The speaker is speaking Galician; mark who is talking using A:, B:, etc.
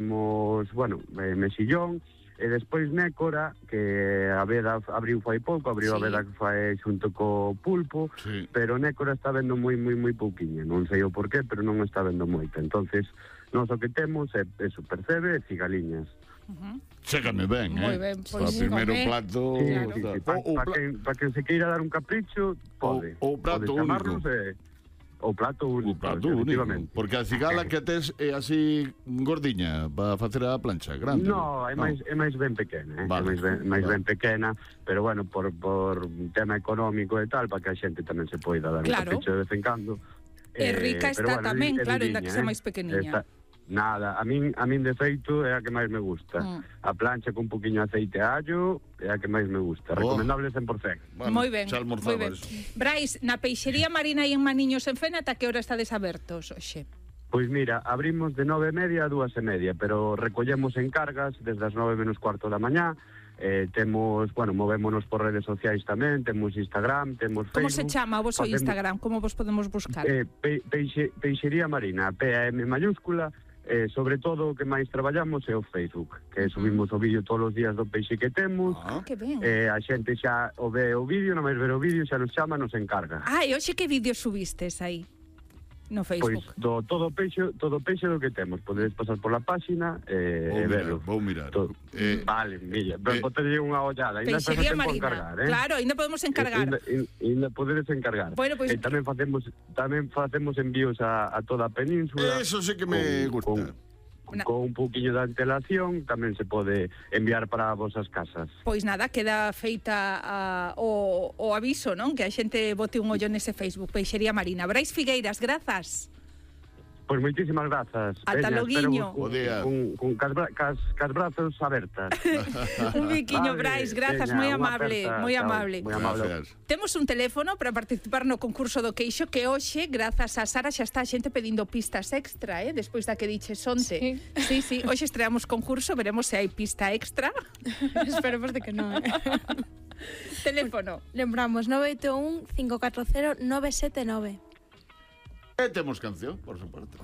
A: bueno, mexillón, e despois nécora, que a veda abriu fai pouco, abriu a veda que fai xunto co pulpo, pero nécora está vendo moi pouquiña, non sei o porqué, pero non está vendo moita. Entonces, nós o que temos é percebe e cigaliñas.
B: Chécame ben,
C: Moi ben,
B: o primeiro plato...
A: Para quen se queira dar un capricho, pode.
B: O plato único.
A: O plato único, efectivamente.
B: Porque a cigala que tes é así gordiña para facer a plancha, grande.
A: No, é máis ben pequena, vale. É máis ben pequena, pero bueno, por tema económico e tal, para que a xente tamén se poida dar un capricho de vez en cando.
C: E rica está tamén, claro, ainda que sea máis pequeniña.
A: Nada, a min de feito é a que máis me gusta. A plancha con un poquinho de aceite e allo é a que máis me gusta. Recomendable 100%.
B: Bueno,
C: moi ben. Brais, na peixería Marina e en Maniños en Fene, ata que hora estades abertos hoxe?
A: Pois mira, abrimos de 9:30 a 2:30, pero recollemos encargas desde as 9 menos cuarto da mañá. Temos, bueno, movémonos por redes sociais tamén, temos Instagram, temos Facebook.
C: Como se chama o vosso Instagram? Como vos podemos buscar?
A: Peixería Marina, P-A-M mayúscula. Sobre todo o que máis traballamos é o Facebook, que subimos o vídeo todos os días do peixe que temos.
C: Que ben.
A: A xente xa o ve o vídeo, non máis ver o vídeo, xa nos chama, nos encarga.
C: E hoxe que vídeo subistes aí no Facebook?
A: Pois todo peixe do que temos. Podedes pasar por la página e verlo.
B: Vou mirar.
A: Vale, milla, botarlle unha ollada.
C: Peixería Marina, claro, ainda podemos encargar.
A: Ainda podedes encargar.
C: Bueno, pois...
A: tamén facemos envíos a toda a península.
B: Eso sí que me gusta.
A: Con un pouquiño de antelación tamén se pode enviar para vosas casas.
C: Pois nada, queda feita o aviso, non? Que a xente bote un ollo nese Facebook, Peixería Marina. Brais Figueiras, grazas.
A: Pois moitísimas grazas.
C: Ata loguiño.
A: Con cas brazos abertas.
C: Un biquiño, Brais, grazas, moi amable, moi amable. Temos un teléfono para participar no concurso do queixo que hoxe, grazas a Sara, xa está a xente pedindo pistas extra, despois da que diches onte. Sí, hoxe estreamos concurso, veremos se hai pista extra.
D: Esperemos de que non.
C: Teléfono.
D: Lembramos 981 540 979.
B: Temos canción, por suposto.